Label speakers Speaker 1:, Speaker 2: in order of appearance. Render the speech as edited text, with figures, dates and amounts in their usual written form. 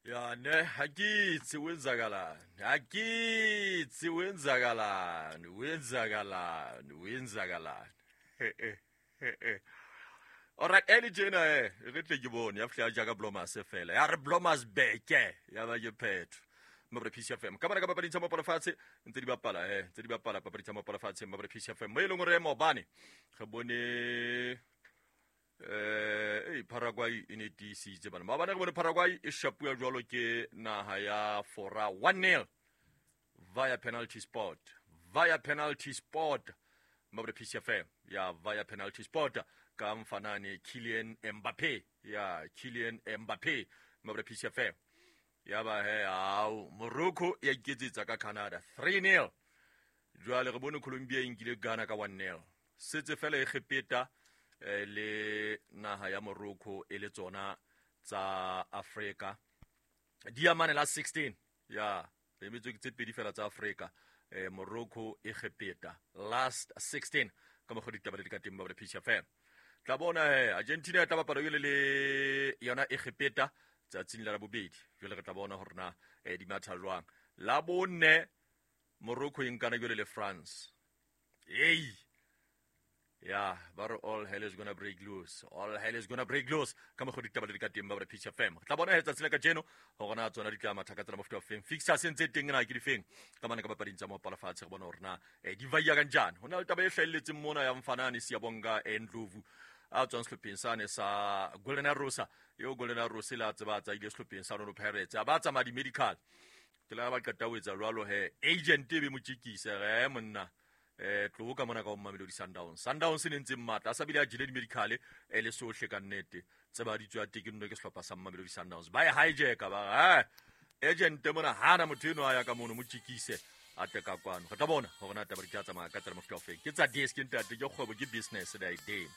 Speaker 1: Ya ne ha ke itse o etsakalane, ha ke itse o etsakalane, o etsakalane, o etsakalane. Alright, early tjena eh re tle ke bone ya fihla jaaka Blomas fela. Ya re Blomas beke ya ba ke phetho. Mmabre Peace FM. Ka bana ka papading tsa mapala fatshe ntse di bapala eh ntse di bapala papading tsa mapala fatshe Mmabre Peace FM. Mo e leng hore maobane re bone eh Paraguay e ne tiisitse bana. Maobane re bone Paraguay e shapuwa jwalo ke naha ya Fora 1-0 via penalty spot. Via penalty spot. Mmabre Peace FM ya via penalty spot ka mfanane Kylian Mbappe ya Kylian Mbappe Mmabre Peace FM. Ya ba he au Morocco ya iketsetsa ka Canada 3-0. Jwale re bone Colombia e nkile Ghana ka 1-0. Setse fela Egepeta le naha ya Morocco e le tsona tsa Africa. Di amane la 16 ya re emetswe ke tse pedi fela tsa Africa Morocco Egepeta last 16 ka mokgwa ditaba le di ka teng ba re Peace FM. Tla bona he Argentina e tla bapala jwale le yona Egepeta tsatsing la bobedi. Jwale re tla bona hore na di matha jwang. La bone Morocco e nkana jwale le France. Hey. Ya, ba re all hell is gonna break loose. All hell is gonna break loose. Ka mokgwa ditaba le di ka teng ba re Peace FM. Tla bona he tsatsi la kajeno hore na tsona di tla matha ka tsela mofuta wa feng. Fixtures ntse teng na ke di feng. Ka mane ka papading tsa mopala fatshe re bona hore na di vaiya kanjani. Ho na le taba e hlahelletseng mona ya Mfanane Siyabonga Ndlovu a tswang sehlopheng sane sa Golden Arrows. Eo Golden Arrows le a tseba tsa ile sehlopheng sa Orlando Pirates. A ba tsamaya di-medical. Ke la ba qeta ho etsa jwalo he agent e be mo tjekise re monna tloho ka mona ka ho Mamelodi Sundowns. Sundowns e ne ntse matla a sa bile a jele di-medical e le sohle ka nnete. Tseba di tswa teke nno ke sehlopha sa Mamelodi Sundowns. Ba e hijacka ba agent mona hana motho eno a ya ka mono mo tjekise a tle ka kwano. Re tla bona hore na taba di tla tsamaya ka tsela mofuta o feng. Ke tsa desk ntate, ke kgwebo, ke business the idea.